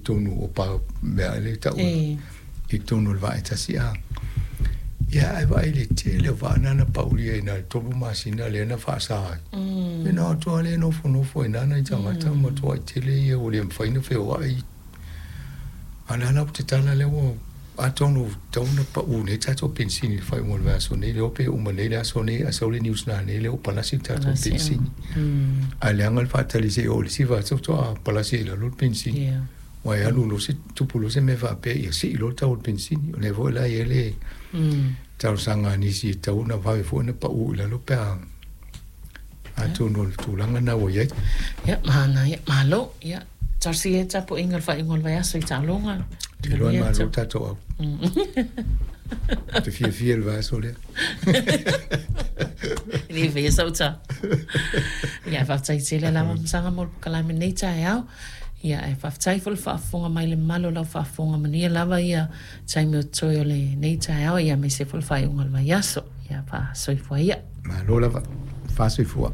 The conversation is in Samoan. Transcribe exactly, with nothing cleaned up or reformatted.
totonu o pa mea le ta'u i totonu o le vaa e tasi a. Ia ae vaai i le tele o vaa na na paulia ina le tolu masina lea na faasā ai. E na o atu lava lea nofonofo ai nana i tagata ma matuai tele ia ua le mafai ona feoai. A o le a la ua tatala lea ua atonu tatau ona pau nei tatou penisini i le faaiuga o le vaiaso nei, le iloa pe uma nei le aso nei ae sau le news nanei lea ua palasi le tatou penisini. Ae leaga le faatali se i oo i le isi vaiaso faatoa palasi ai i lalo le penisini. Aua e alu loa se tupu loa se mea faapea ia sii loa le tau o le penisini. O lea foi la e i ai le talosaga a nisi e tatau ona vave foi ona pau i lalo pe a atonu o le tulaga lena ua i ai. Ia, manaia, malo. Ia, talosia ia tapuaiga i le faaiuga o le vaiaso i taaloga. Ou te iloa e malo le tatou au. Ou te fiafia i le vaiaso lea. E le faia sau tala. Ia, faafetai tele lava Masaga mo le polokalame i lenei taeao. Ia, ae faafetai foi le faafofoga mai i le mamalu o lau faafofoga manuia lava ia taimi o totoe o lenei taeao, ia aemaise foi le faaiuga o le vaiaso. Ia, faasoifua ia. Malo lava. Faasoifua.